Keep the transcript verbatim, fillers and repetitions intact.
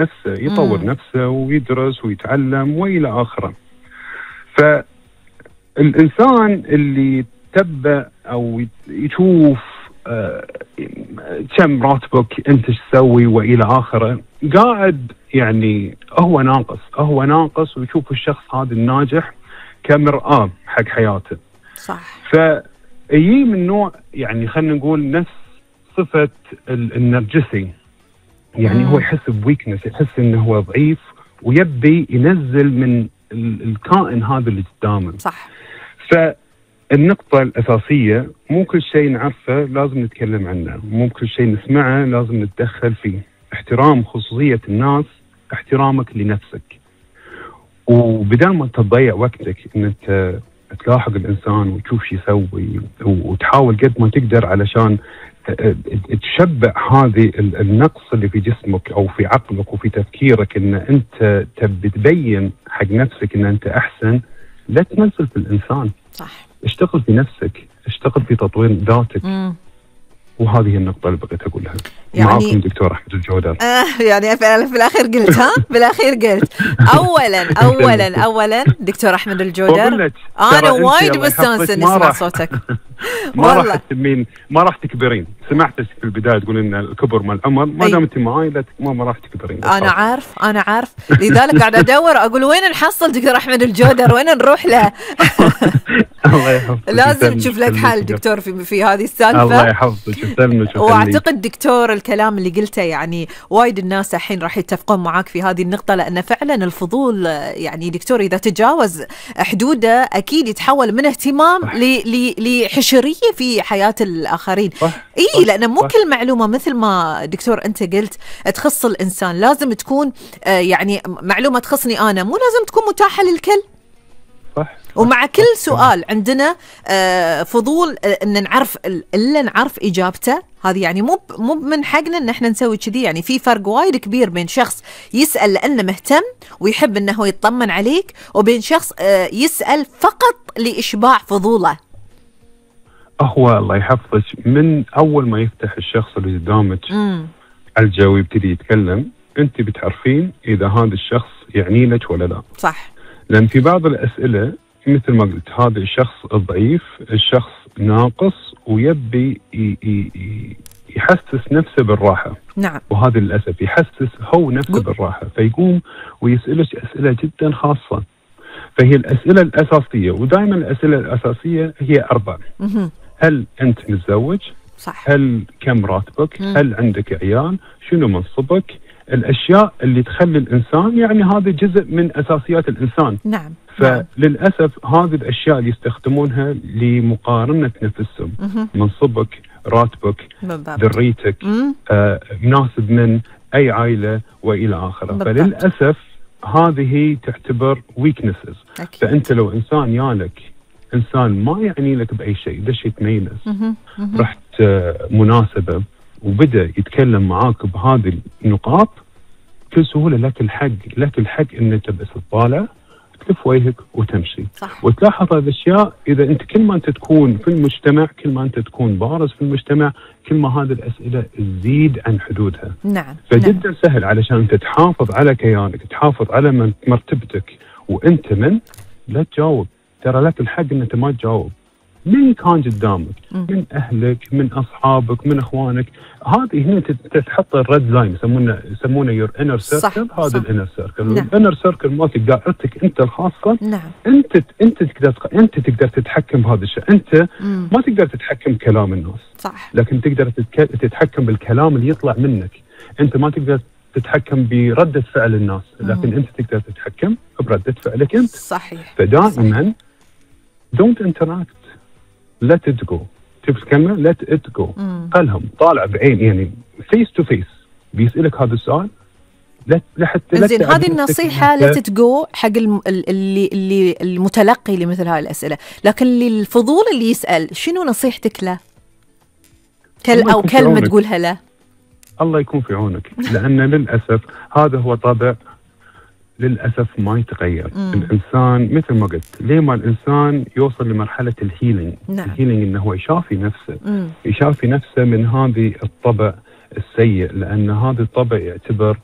نفسه، يطور مم. نفسه ويدرس ويتعلم وإلى آخره. فالإنسان اللي تبع أو يشوف آه كم راتبك، أنت ايش تسوي وإلى آخره، قاعد يعني هو ناقص هو ناقص ويشوف الشخص هذا الناجح كمرآة حق حياته. صح. فيجي من نوع يعني خلينا نقول نفس صفة النرجسي، يعني مم. هو يحس بويكنس، يحس انه هو ضعيف ويبي ينزل من الكائن هذا اللي قدامه. صح. فالنقطة الأساسية مو كل شيء نعرفه لازم نتكلم عنه، مو كل شيء نسمعه لازم نتدخل فيه. احترام خصوصية الناس، احترامك لنفسك، وبدل ما تضيع وقتك ان انت تلاحق الانسان وتشوف شو يسوي وتحاول قد ما تقدر علشان تشبع هذه النقص اللي في جسمك او في عقلك وفي تفكيرك، ان انت تبي تبين حق نفسك ان انت احسن، لا تنزل في الانسان. صح. اشتغل في نفسك، اشتغل في تطوير ذاتك. مم. وهذه النقطة اللي بغيت أقولها. يعني معاكم دكتور أحمد الجودر. آه يعني في الأخير قلت ها بالأخير قلت أولا أولا أولا دكتور أحمد الجودر، أنا وايد مستانسة نسمع صوتك. ما راح تسمين، ما راح تكبرين. سمعتك في البداية تقول إن الكبر مع العمر، ما دام أنت معاي لا ما راح تكبرين. أنا عارف أنا عارف لذلك قاعد أدور أقول وين نحصل دكتور أحمد الجودر، وين نروح له. الله يحفظك. لازم تشوف لك حل دكتور في في هذه السالفة. الله يحفظك. واعتقد دكتور الكلام اللي قلته يعني وايد الناس الحين راح يتفقون معاك في هذه النقطة، لأن فعلا الفضول يعني دكتور إذا تجاوز حدوده أكيد يتحول من اهتمام لحشرية في حياة الآخرين. إيه لأن مو كل معلومة مثل ما دكتور أنت قلت تخص الإنسان لازم تكون يعني معلومة تخصني أنا، مو لازم تكون متاحة للكل. صح. ومع كل سؤال عندنا فضول ان نعرف الا نعرف اجابته، هذه يعني مو مو من حقنا ان احنا نسوي كذي. يعني في فرق وايد كبير بين شخص يسال لانه مهتم ويحب انه هو يطمن عليك، وبين شخص يسال فقط لاشباع فضوله. هو الله يحفظك من اول ما يفتح الشخص اللي قدامك الجو ويبتدي يتكلم، انت بتعرفين اذا هذا الشخص يعني لك ولا لا. صح. لان في بعض الاسئله مثل ما قلت هذا الشخص الضعيف، الشخص ناقص ويبي يحسس نفسه بالراحة. نعم. وهذا للأسف يحسس هو نفسه بالراحة، فيقوم ويسألك أسئلة جدا خاصة. فهي الأسئلة الأساسية، ودائما الأسئلة الأساسية هي أربع. هل أنت متزوج؟ صح. هل كم راتبك؟ مم. هل عندك عيال؟ شنو منصبك؟ الأشياء اللي تخلي الإنسان يعني هذا جزء من أساسيات الإنسان. نعم. فللأسف هذه الأشياء اللي يستخدمونها لمقارنة نفسهم. منصبك، راتبك، ذريتك، آه، مناسب من أي عائلة وإلى آخره. فللأسف هذه تعتبر weaknesses. فأنت لو إنسان يالك إنسان ما يعني لك بأي شيء، دش يتميز، رحت آه مناسبة وبدأ يتكلم معاك بهذه النقاط، بكل سهولة لك الحق لك الحق إنك بس تطالع تلف وجهك وتمشي. صح. وتلاحظ هذه الأشياء. إذا أنت كل ما أنت تكون في المجتمع، كل ما أنت تكون بارز في المجتمع، كل ما هذه الأسئلة تزيد عن حدودها. نعم. فجدا نعم. سهل علشان أنت تحافظ على كيانك، تحافظ على مرتبتك وأنت من لا تجاوب. ترى لك الحق إن أنت ما تجاوب. من كان قدامك، من أهلك، من أصحابك، من أخوانك، هذه هنا تتحط الريد لاين، يسمونه يسمونه يور انر سيركل. هذا الانر سيركل. الانر سيركل مالتك دائرتك أنت الخاصة. نعم. أنت أنت تقدر أنت تقدر تتحكم بهذا الشيء. أنت مم. ما تقدر تتحكم كلام الناس. صح. لكن تقدر تتحكم بالكلام اللي يطلع منك. أنت ما تقدر تتحكم بردة فعل الناس، لكن مم. أنت تقدر تتحكم بردة فعلك أنت. صحيح. فدائما don't interact. let it go. شوف الكلمة let it go. قالهم طالع بعين يعني face to face بيسألك هذا السؤال. لا لحتى زين هذه النصيحة let it go حق اللي اللي المتلقي لمثل هاي الأسئلة، لكن للفضول اللي يسأل شنو نصيحتك له؟ كل أو كلمة تقولها له. الله يكون في عونك. لأن للأسف هذا هو طبع للأسف ما يتغير. مم. الإنسان مثل ما قلت ليه ما الإنسان يوصل لمرحلة الهيلينج. نعم. الهيلينج إنه هو يشافي نفسه. مم. يشافي نفسه من هذه الطبع السيء، لأن هذا الطبع يعتبر